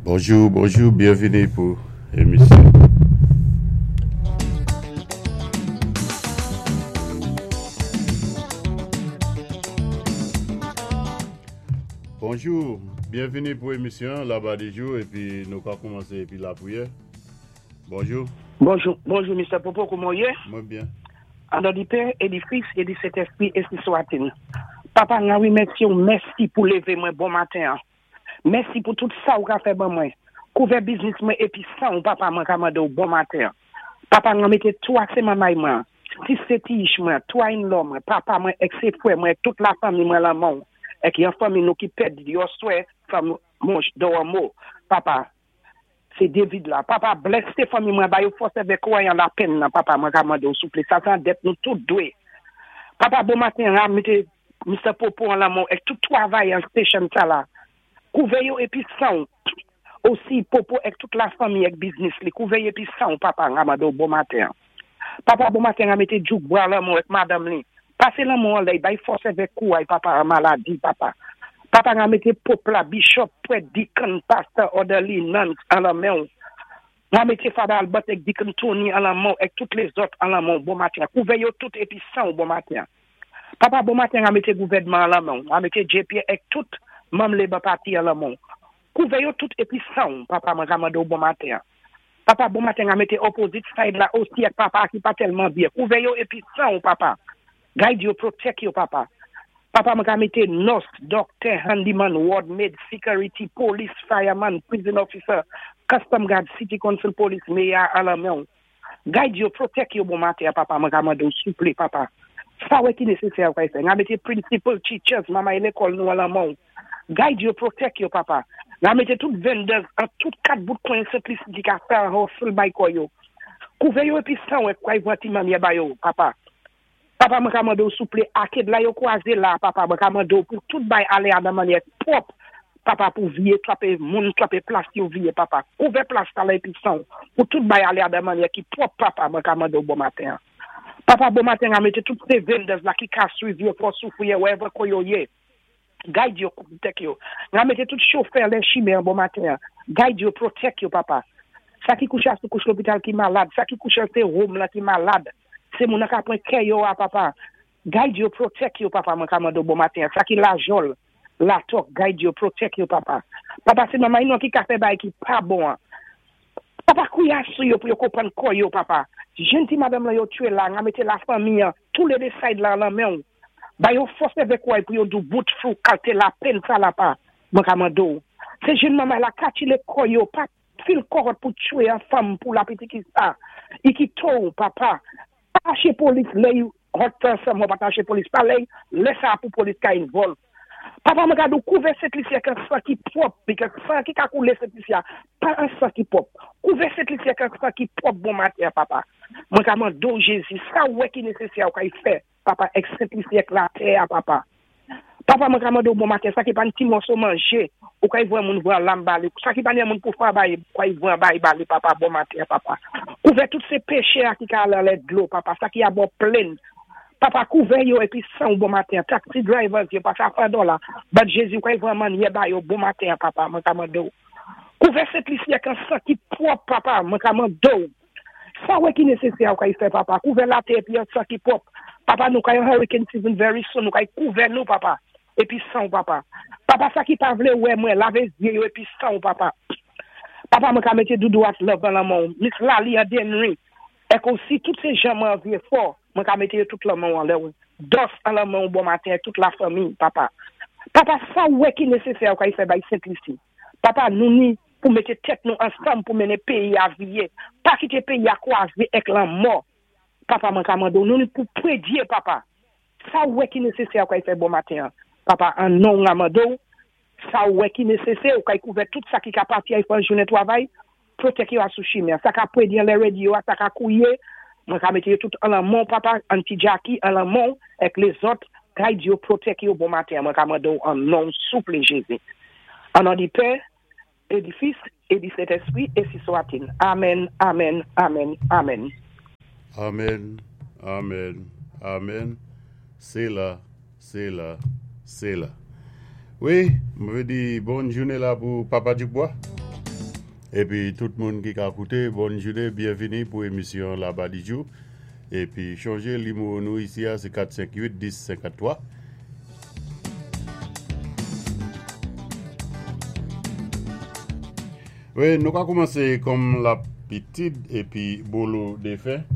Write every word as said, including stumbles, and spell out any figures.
Bonjou, bonjou, byenvini pou émisyon. Bonjou, byenvini pou émisyon Laba di jou épi nou ka koumansé épi lapriyè. Bonjou. Bonjou, bonjou, Mister Popo, kouman ou yé? Mwen byen. An non di Pè, é di Fis, é di Sentèspwi, ensi swa-t-il. Papa, nou wimèsi ou, mèsi pou lévé mwen bon maten. Mèsi pou tout sa ou ka fè ban mwen. Kouvè biznis mwen épi san ou, papa, mwen ka mandé ou bon maten. Papa, mwen mété twa sé manmay mwen, sis sé tiyich mwen, twa in-law mwen, papa mwen, èk sé fwè mwen, tout lafanmi mwen lan men ou. Èk yon fanmi nou ki pèdi yon swè, fanm monch mo. Papa, sé David la. Papa, bless sé fanmi mwen, ba yo fòs avèk kwayan lapenn nan, papa, mwen ka mandé ou souplé. Sa sé an dèt nou tout dwé. Papa, bon maten, la, mété Mister Popo an lan men ou, èk tout twavay an station sa la. Kouvè yo épi san. Osi Popo èk tout lafanmi èk biznis li. Kouvè épi san, papa, m mandé ou bon maten. Papa, bon maten, mété Djouk bwa lan men ou èk madanm li. Pasé lan men ou an lè, bay fòs avèk kouray, papa, an maladi, papa. Papa, m mété pòp la, bishop, prèt, deacon, pastor, orderly, nuns, an lan men ou. M mété Father Albert èk Deacon Tony an lan men ou, èk tout lézòt an lan men ou, bon maten. Kouvè yo tout épi san, bon maten. Papa, bon maten, m mété gouvèdman an lan men ou. M mété J P èk tout manm Labour Party an lan men ou. Kouvè yo tout épi san, papa, mwen ka mandé ou bon maten. Papa, bon maten, m mété opposite side la osi èk papa ki pa tèlman byen. Kouvè yo épi san, papa. Guide yo, protect yo, papa. Papa, mwen ka mété nurse, doctor, handyman, ward maid, security, police, fireman, prison officer, custom guard, city council police, mayor, an lan men ou. Guide yo, protect yo, bon maten, papa, mwen ka mandé ou souplé, papa. Sa wè ki nésésè ou ka fè. M mété principal, teachers, manmay lékòl nou an lan men ou. Guide yo, protect yo, papa. M mété tout vendors an tout kat bout kwen Sent Lisi ki ka fè an hustle bay kò yo. Kouvè yo épi san wè kwa y ti manmyè ba yo, papa. Papa, mwen ka mandé ou souplé, aked la yo kwaze la, papa, mwen ka mandé ou pou tout bay alé an nan mannyè pwòp, papa, pou viye, trape moun, trape plas yo viye, papa. Kouvè plas sa la épi san, pou tout bay alé an nan mannyè ki pwòp, papa, mwen ka mandé ou bon maten. Papa, bon maten, m mété tout sé vendors la ki ka swiv yo pou soufri wherever ko yo yé. Guide yo, protect yo. M mété tout chofè lè chimen bon maten. Guide yo, protect yo, papa. Sa ki kouché sou kouch lopital ki malad, sa ki kouché sé home la ki malad. Sé moun ka pran kè yo a papa. Guide yo, protect yo, papa, mwen ka mandé bon maten. Sa ki Lajol, la tok, guide yo, protect yo, papa. Papa, sé manmay nou ki ka fè bay ki pa bon. Papa, kouya sou yo pou yo konprann kò yo, papa. Jenn ti madanm la yo twé la, m mété lafanmi, tou lé dé side la lan men ou. Ba yo fòs avèk kouray pou yo dou bout fou kalté lapenn sa la pa. Mwen ka mandé ou. Sé jenn manmay la katile kò yo, pa fil kòròt pou twé an fanm pou la piti ki sa. I ki to, papa. Pa aché polis lè yo hot person, mwen pa aché polis pa lè, lè sa pou polis ka involve. Papa, mwen ka dou kouvè Sent Lisi ak an san ki pwòp, because san ki ka koulé Sent Lisi, pa an san ki pwòp. Kouvè Sent Lisi ak an san ki pwòp bon maten, papa. Mwen ka mandé ou Jézi, sa wè ki nésésè ou ka y fè, papa, èk Sent Lisi èk latè, papa. Papa, mwen ka mandé ou bon maten, sa ki pa ti mòso manjé, ou ka y voyé moun voye lam ba li, sa ki pa ni moun pou fwa bay, ou ka y voye bay ba li, papa, bon maten, papa. Kouvè tout sé péchè ki ka alé lè dlo, papa, sa ki a bò plenn. Papa, kouvè yo épi san ou bon maten, taxi drivers yo, papa, fè dola. But Jézi, ou ka y voye mannyè ba yo bon maten, papa, mwen ka mandé ou. Kouvè Sent Lisi ak an san ki pwòp, papa, mwen ka mandé ou. Sa wè ki nésésè ou ka y fè, papa. Kouvè latè épi an san ki pwòp. Papa, nou ka yon hurricane season very soon, nou ka y kouvè nou, papa. Épi san ou, papa. Papa, sa ki pa vlé wè mwen, lavé zyé yo épi san ou, papa. Papa, mwen ka mété Doudou at love lan men ou. Miss Lali an Denry. Èk osi, tout sé jan mwen anvyé fò, mwen ka mété yo tout lan men ou an lè ou. Dos an lan men ou bon maten, tout lafanmi, papa. Papa, sa wè ki nésésè ou ka y fè bay Sent Lisi. Papa, nou ni pou mété tèt nou ansanm pou mennen péyi a viye. Pa kité péyi a kwazé èk lanmò. Papa, mwen ka mandé ou, nou ni pou prédyé, papa. Sa wè ki nésésè ou ka y fè bon maten. Papa, an non nga mande ou, sa wè ki nésésè ou ka y kouvè tout sa ki ka pati a y fè jounen twavay, protect yo a sou chimen. Sa ka prédyé lè radio, sa ka kouye, mwen ka mété yo tout an lan men ou, papa, Auntie Jackie, an lan men ou, èk lézòt, guide yo, protect yo bon maten, mwen ka mande ou an non souplé Jézi. An non di Pè, é di Fis, é di Sentèspwi, ensi swa-t-il. Amen, amen, amen, amen. Amen, amen, amen. Sé la, sé la, sé la. Wi, mwen di bòn jounen la pou Papa Dubois. Épi tout moun ki ka kouté, bòn jounen, byenvini pou émisyon Labadijou. Épi chonjé nimewo nou isi a, sé kat senk uit dis senkanntwa. Wi, nou ka koumansé kòm labitid épi bolo défen.